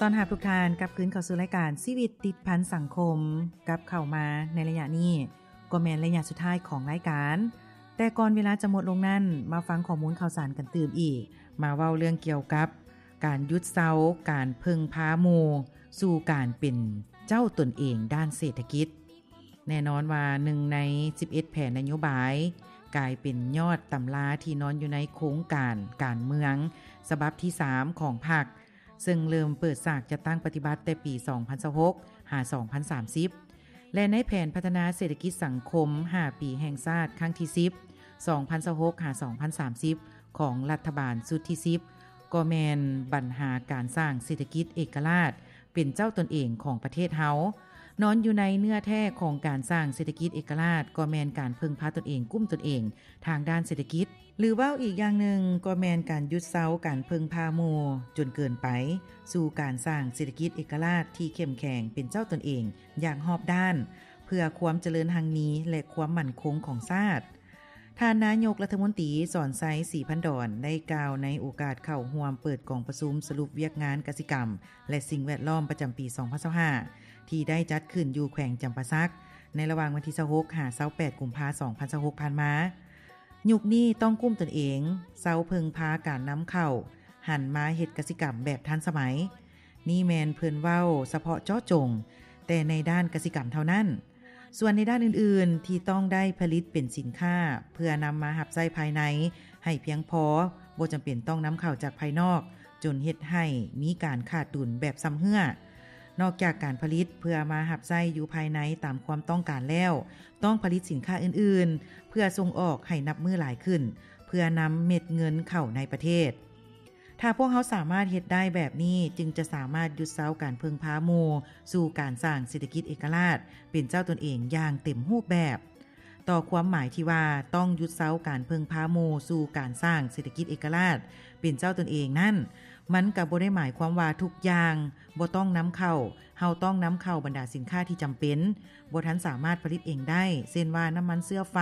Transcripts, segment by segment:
ຕ້ອນຮັບທຸກທ່ານກັບຄືນເຂົ້າສູ່ລາຍການຊີວິດຕິດພັນສັງຄົມ. ກັບເຂົ້າມາໃນໄລຍະນີ້ ກໍແມ່ນໄລຍະສຸດທ້າຍຂອງລາຍການ, ແຕ່ກ່ອນເວລາຈະໝົດລົງນັ້ນ ມາຟັງຂໍ້ມູນຂ່າວສານກັນຕື່ມອີກ, ມາເວົ້າເລື່ອງກ່ຽວກັບການຢຸດເຊົາການເພິ່ງພາໝູ່ ສູ່ການເປັນເຈົ້າຕົນເອງດ້ານເສດຖະກິດ. ແນ່ນອນວ່າໜຶ່ງໃນສິບເອັດແຜນນະໂຍບາຍ ກາຍເປັນຍອດຕຳລາທີ່ນອນຢູ່ໃນໂຄງການການເມືອງສະບັບທີສາມຂອງພັກ, ເຊິ່ງເລີ່ມເປີດສາກຈັດຕັ້ງປະຕິບັດແຕ່ປີສອງພັນຊາວຫົກ ຫາ ສອງພັນສາມສິບ ແລະ ໃນແຜນພັດທະນາເສດຖະກິດສັງຄົມຫ້າປີແຫ່ງຊາດຄັ້ງທີສິບ ສອງພັນຊາວຫົກ ຫາ ສອງພັນສາມສິບ ຂອງລັດຖະບານຊຸດທີສິບ ກໍແມ່ນບັນຫາການສ້າງເສດຖະກິດເອກະລາດ ເປັນເຈົ້າຕົນເອງຂອງປະເທດເຮົາ. ນອນຢູ່ໃນເນື້ອແທ້ຂອງການສ້າງເສດຖະກິດເອກະລາດ ກໍແມ່ນການເພິ່ງພາຕົນເອງ, ກຸ້ມຕົນເອງທາງດ້ານເສດຖະກິດ, ຫຼື ເວົ້າອີກຢ່າງໜຶ່ງ ກໍແມ່ນການຢຸດເຊົາການເພິ່ງພາໝູ່ຈົນເກີນໄປ ສູ່ການສ້າງເສດຖະກິດເອກະລາດທີ່ເຂັ້ມແຂງເປັນເຈົ້າຕົນເອງຢ່າງຮອບດ້ານ ເພື່ອຄວາມຈະເລີນຮັ່ງມີ ແລະ ຄວາມໝັ້ນຄົງຂອງຊາດ. ທ່ານນາຍົກລັດຖະມົນຕີ ສອນໄຊ ສີພັນດອນ ໄດ້ກ່າວໃນໂອກາດເຂົ້າຮ່ວມເປີດກອງປະຊຸມສະຫຼຸບວຽກງານກະສິກຳ ແລະ ສິ່ງແວດລ້ອມປະຈຳປີສອງພັນຊາວຫ້າ ທີ່ໄດ້ຈັດຂຶ້ນຢູ່ແຂວງຈຳປາສັກ ໃນລະຫວ່າງວັນທີຊາວຫົກ ຫາ ຊາວແປດ ກຸມພາ ສອງພັນຊາວຫົກ ຜ່ານມາ. ຍຸກນີ້ຕ້ອງກຸ້ມຕົນເອງ, ເຊົາເພິ່ງພາການນຳເຂົ້າ, ຫັນມາເຮັດກະສິກຳແບບທັນສະໄໝ. ນີ້ແມ່ນເພິ່ນເວົ້າສະເພາະເຈາະຈົງແຕ່ໃນດ້ານກະສິກຳເທົ່ານັ້ນ. ສ່ວນໃນດ້ານອື່ນໆ ທີ່ຕ້ອງໄດ້ຜະລິດເປັນສິນຄ້າ ເພື່ອນຳມາຮັບໃຊ້ພາຍໃນໃຫ້ພຽງພໍ, ບໍ່ຈຳເປັນຕ້ອງນຳເຂົ້າຈາກພາຍນອກ ຈົນເຮັດໃຫ້ມີການຂາດດຸນແບບຊຳເຮື້ອ. ນອກຈາກການຜະລິດເພື່ອມາຮັບໃຊ້ຢູ່ພາຍໃນຕາມຄວາມຕ້ອງການແລ້ວ, ຕ້ອງຜະລິດສິນຄ້າອື່ນໆ ເພື່ອສົ່ງອອກໃຫ້ນັບມື້ຫຼາຍຂຶ້ນ, ເພື່ອນຳເມັດເງິນເຂົ້າໃນປະເທດ. ຖ້າພວກເຮົາສາມາດເຮັດໄດ້ແບບນີ້, ຈຶ່ງຈະສາມາດຢຸດເຊົາການເພິ່ງພາໝູ່ ສູ່ການສ້າງເສດຖະກິດເອກະລາດ ເປັນເຈົ້າຕົນເອງຢ່າງເຕັມຮູບແບບ. ຕໍ່ຄວາມໝາຍທີ່ວ່າຕ້ອງຢຸດເຊົາການເພິ່ງພາໝູ່ສູ່ການສ້າງເສດຖະກິດເອກະລາດເປັນເຈົ້າຕົນເອງນັ້ນ, ມັນກໍບໍ່ໄດ້ໝາຍຄວາມວ່າທຸກຢ່າງບໍ່ຕ້ອງນຳເຂົ້າ. ເຮົາຕ້ອງນຳເຂົ້າບັນດາສິນຄ້າທີ່ຈຳເປັນ, ບໍ່ທັນສາມາດຜະລິດເອງໄດ້, ເຊັ່ນວ່ານ້ຳມັນເຊື້ອໄຟ,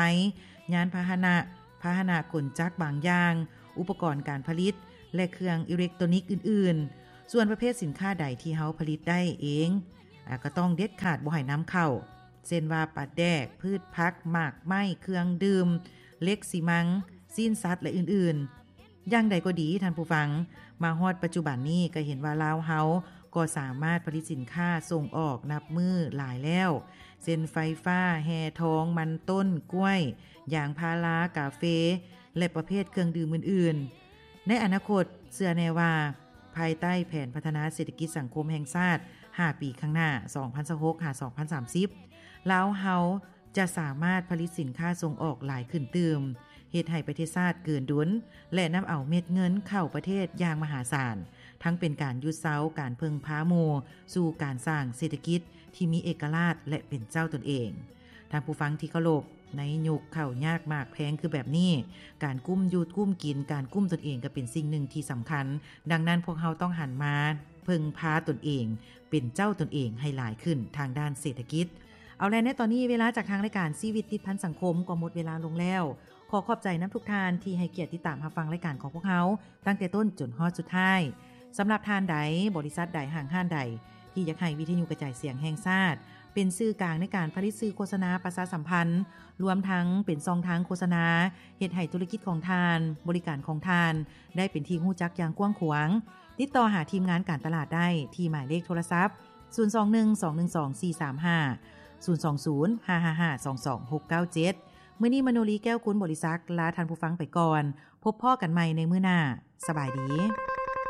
ຍານພາຫະນະ, ພາຫະນະກົນຈັກບາງຢ່າງ, ອຸປະກອນການຜະລິດ ແລະ ເຄື່ອງອີເລັກໂຕນິກອື່ນໆ. ສ່ວນປະເພດສິນຄ້າໃດທີ່ເຮົາຜະລິດໄດ້ເອງ, ອາ, ກໍຕ້ອງເດັດຂາດບໍ່ໃຫ້ນຳເຂົ້າ, ເຊັ່ນວ່າປາແດກ, ພືດຜັກ, ໝາກໄມ້, ເຄື່ອງດື່ມ, ເຫຼັກ, ຊີມັງ, ຊີ້ນສັດ ແລະ ອື່ນໆ. ຢ່າງໃດກໍດີທ່ານຜູ້ຟັງ, ມາຮອດປັດຈຸບັນນີ້ກໍເຫັນວ່າລາວເຮົາກໍສາມາດຜະລິດສິນຄ້າສົ່ງອອກນັບມື້ຫຼາຍແລ້ວ, ເຊັ່ນ ໄຟຟ້າ, ແຮ່ທອງ, ມັນຕົ້ນ, ກ້ວຍ, ຢາງພາລາ, ກາເຟ ແລະ ປະເພດເຄື່ອງດື່ມອື່ນໆ. ໃນອະນາຄົດ, ເຊື່ອແນ່ວ່າ ພາຍໃຕ້ແຜນພັດທະນາເສດຖະກິດສັງຄົມແຫ່ງຊາດຫ້າປີຂ້າງໜ້າ ສອງພັນຊາວຫົກ ຫາ ສອງພັນສາມສິບ ລາວເຮົາຈະສາມາດຜະລິດສິນຄ້າສົ່ງອອກຫຼາຍຂຶ້ນຕື່ມ, ເຮັດໃຫ້ປະເທດຊາດເກີນດຸນ ແລະ ນຳເອົາເມັດເງິນເຂົ້າປະເທດຢ່າງມະຫາສານ, ທັງເປັນການຢຸດເຊົາການເພິ່ງພາໝູ່ ສູ່ການສ້າງເສດຖະກິດທີ່ມີເອກະລາດ ແລະ ເປັນເຈົ້າຕົນເອງ. ທ່ານຜູ້ຟັງທີ່ເຄົາລົບ, ໃນຍຸກເຂົ້າຍາກໝາກແພງຄືແບບນີ້, ການກຸ້ມຢູ່ກຸ້ມກິນ, ການກຸ້ມຕົນເອງກໍເປັນສິ່ງໜຶ່ງທີ່ສຳຄັນ. ດັ່ງນັ້ນ, ພວກເຮົາຕ້ອງຫັນມາເພິ່ງພາຕົນເອງ, ເປັນເຈົ້າຕົນເອງໃຫ້ຫຼາຍຂຶ້ນທາງດ້ານເສດຖະກິດ. ເອົາແລະ ໃນຕອນນີ້ເວລາຈາກທາງລາຍການຊີວິດຕິດພັນສັງຄົມກໍໝົດເວລາລົງແລ້ວ. ຂໍຂອບໃຈນຳທຸກທ່ານທີ່ໃຫ້ກຽດຕິດຕາມຮັບຟັງລາຍການຂອງພວກເຮົາ ຕັ້ງແຕ່ຕົ້ນຈົນຮອດສຸດທ້າຍ. ສຳລັບທ່ານໃດ, ບໍລິສັດໃດ, ຫ້າງຮ້ານໃດ ທີ່ຢາກໃຫ້ວິທະຍຸກະຈາຍສຽງແຫ່ງຊາດ ເປັນສື່ກາງໃນການຜະລິດສື່ໂຄສະນາປະຊາສຳພັນ, ລວມທັງເປັນຊ່ອງທາງໂຄສະນາ ເຮັດໃຫ້ທຸລະກິດຂອງທ່ານ, ບໍລິການຂອງທ່ານ ໄດ້ເປັນທີ່ຮູ້ຈັກຢ່າງກວ້າງຂວາງ, ຕິດຕໍ່ຫາທີມງານການຕະຫຼາດໄດ້ທີ່ໝາຍເລກໂທລະສັບ ສູນສອງໜຶ່ງ ສອງໜຶ່ງສອງ ສີ່ສາມຫ້າ, ສູນສອງສູນ ຫ້າຫ້າຫ້າ ສອງສອງ ຫົກເກົ້າເຈັດ. ມື້ນີ້ ມະໂນລີ ແກ້ວກຸນ ບໍລິສັກ ລາທ່ານຜູ້ຟັງໄປກ່ອນ. ພົບພໍ້ກັນໃໝ່ໃນມື້ໜ້າ. ສະບາຍດີ.